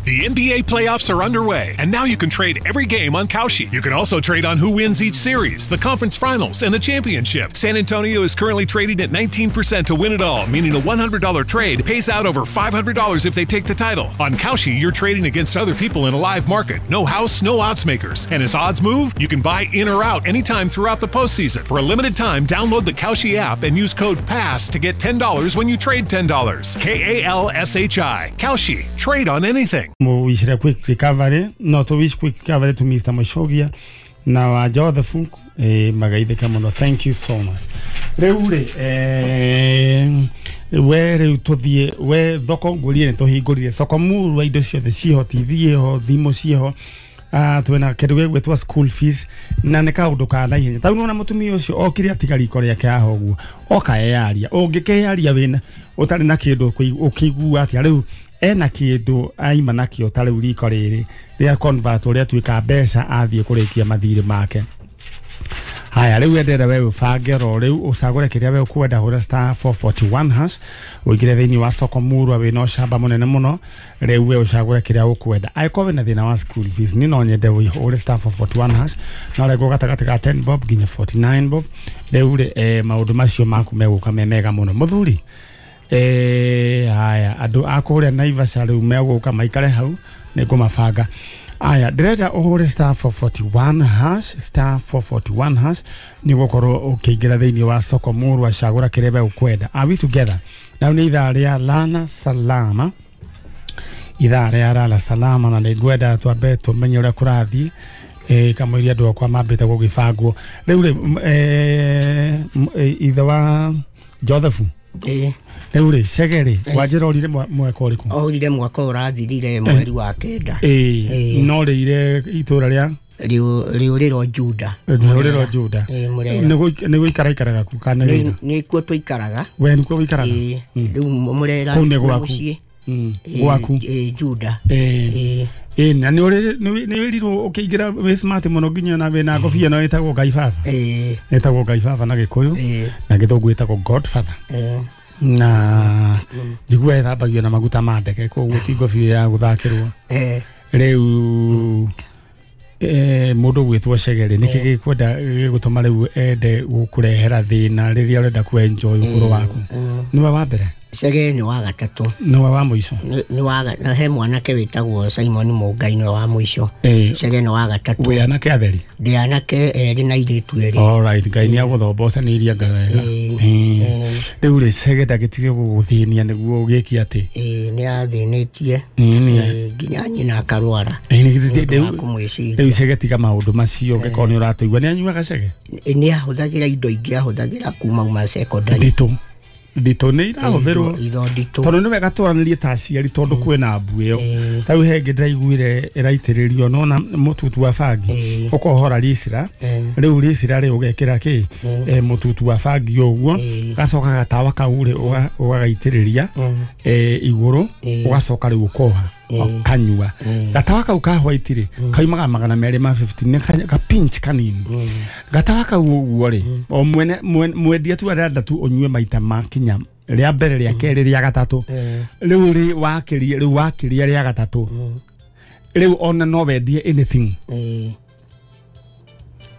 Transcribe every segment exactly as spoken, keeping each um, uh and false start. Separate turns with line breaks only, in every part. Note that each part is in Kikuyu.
The N B A playoffs are underway, and now you can trade every game on Kalshi. You can also trade on who wins each series, the conference finals, and the championship. San Antonio is currently trading at nineteen percent to win it all, meaning a one hundred dollar trade pays out over five hundred dollars if they take the title. On Kalshi, you're trading against other people in a live market. No house, no odds makers. And as odds move, you can buy in or out anytime throughout the postseason. For a limited time, download the Kalshi app and use code PASS to get ten dollars when you trade ten dollars. K A L S H I. Kalshi. Trade on anything.
Muwishire quick recovery, no to wish quick recovery to Mister Moshogia na wa Joseph eh magaithika muno. Thank you so much. Riu ri eh we riu tuthie we thoko ngurie ni tuhingurire soko muru indo ciothe ciho T V ho thimu ciho ah twena kindu gigwitwa school fees na ni kaundu ka naihenya tau nona mutumia ucio okire atiga riko riake haha uguo oka eyaria ungikeyaria wina utari na kindu ukigua atia riu ena kindu aima nakio ta riu riko riri ria convert uria tuika mbeca athie kurikia mathiri make. Haya riu endere we ubange ro riu ucagure kiria we ukwenda hura star four forty-one hash uingire thiini wa soko murwa wina ucamba munene muno riu we ucagure kiria ukwenda angĩkorwo wina thina wa school fees ni no nyende uhure star four forty-one hash no rego gatagati ga ten bob nginya forty-nine bob riu ri eh, maundu macio maku meguka me mega muno muthuri eh haya andu a kuria Naivasha riu meguka maikare hau ningumabanga. Aya ndirenda uhure star four forty-one hash star four forty-one hash ni gukorwo ukiingira thiini wa soko murwa cagura kiria we ukwenda. Are we together? Now ni ithaa ria Lala Salama, ithaa ria Lala Salama, na ningwenda twambe tumenye uria kurathie eh kamũiria andu akwa mambite gugibangwo riu ri eh ithe wa Joseph
eh
riu ri Chege ri wanjira orire mwaka uriku?
Orire mwaka urathirire mweri wa kenda.
Eh no rire itura ria
riuriro Juda
riuriro Juda ni guikara ikaraga ku kana
ni ni kuo tuikaraga
we ni kuo wikaraga
riu Murera mucii
gwaku
Juda.
Eh eh na ni uri ni wirirwo ukiingira wi smart muno nginya na wina ngobia no itagwo Ngai Baba.
Eh
itagwo Ngai Baba na Gikuyu na Githungu itagwo Godfather.
Eh
na njigua ithambagio na maguta ma ndege koguo ti ngobia ya guthakirwo.
Eh
riu eh mundu gwitwo Chege ri niki gikwenda gigutuma riu ende gukurehera thina riria urenda ku enjoy ukuru waku? Niwe wa mbere?
Chege ni wa gatatu.
Niwe wa muico?
Ni wa na he mwanake witagwo Simon Mungai ni wa muico. Chege ni wa gatatu.
Wi anake atheri?
Ndi anake eri na iritu eri.
All right, Ngai ni aguthombocaniria nga wega. Riu ri Chege ndagitige guguthinia niguo ugiki ati?
Eh ni athinitie nginya nyina akarwara.
Riu Chege tiga maundu macio ngikorwo ni uratuigua. Ni anyuaga Chege?
Ni ahuthagira indo ingi ahuthagira kuma uma secondary.
Nditũ nditũ nĩ irahũthĩrwo tondũ nĩ wega twaranĩrie ta aciari tondũ kwĩna mbu ĩyo ta rĩu he ĩngĩ ndĩraiguire ĩraitĩrĩrio nona mũtutu wa bangi ũkohora ricira rĩu ricira rĩ ũgekĩra kĩ mũtutu wa bangi ũguo gacoka gatawa kau rĩ ũgagaitĩrĩria igũrũ ũgacoka rĩu ũkoha kanyua gatawa kau ka white rĩ kaimaga magana merĩ ma fifty nĩ ka pinch kanini gatawa kau ũguo rĩ o mwene mwendia tu arenda tu ũnyue maita makinya rĩa mbere rĩa kerĩ rĩa gatatũ rĩu rĩ wakĩria rĩu wakĩria rĩa gatatũ rĩu ona no wendie anything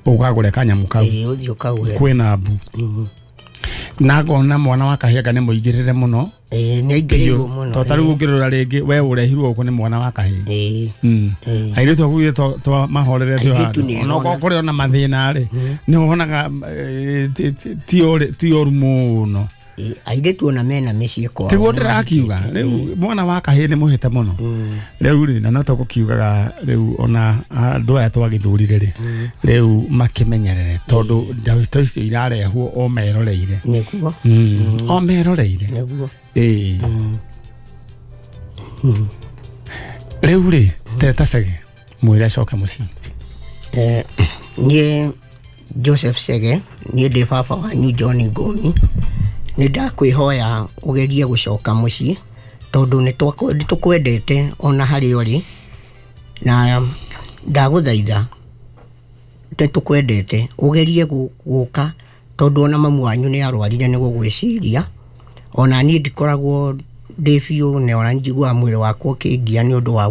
ũkagũre kanyamũ kau kwĩna mbu na ngona mwana wa kahianga nĩ mũingĩrĩre mũno.
Eh nĩ aingĩrĩirwo mũno
to tarĩu ũngĩrora rĩngĩ we ũrehirwo gũkũ nĩ mwana wa kahĩĩ. Airĩtu akuire twa mahorerete handũ ona kũrĩ ona mathĩna rĩ nĩ wonaga ti ũru mũno.
Airĩtu ona mena mĩciĩ kwao
tiguo ndĩrakiuga rĩu mwana wa kahĩĩ nĩ mũhĩte mũno rĩu rĩ na no tũgũkiugaga rĩu ona andũ aya twagĩthurire rĩ rĩu makĩmenyerere tondũ ndeto icio irarehwo o meroreire.
Nĩguo
o meroreire
nĩguo
ĩĩ rĩu rĩ teta Chege mwĩre acoke mũciĩ.
Eh niĩ Joseph Chege niĩ ndĩ baba wanyu John Ngomi nĩ ndakwihoya ugerie gucoka mucii tondu nĩ tukwendete ona harĩa ũrĩ na ndaguthaitha nĩ tukwendete ugerie guka tondu ona mamu wanyu nĩ arwarire nĩ gũgwĩciria ona niĩ ndikoragwo ndĩ biũ na ona njiguaga mwĩrĩ wakwa ũkĩngia nĩ ũndũ wa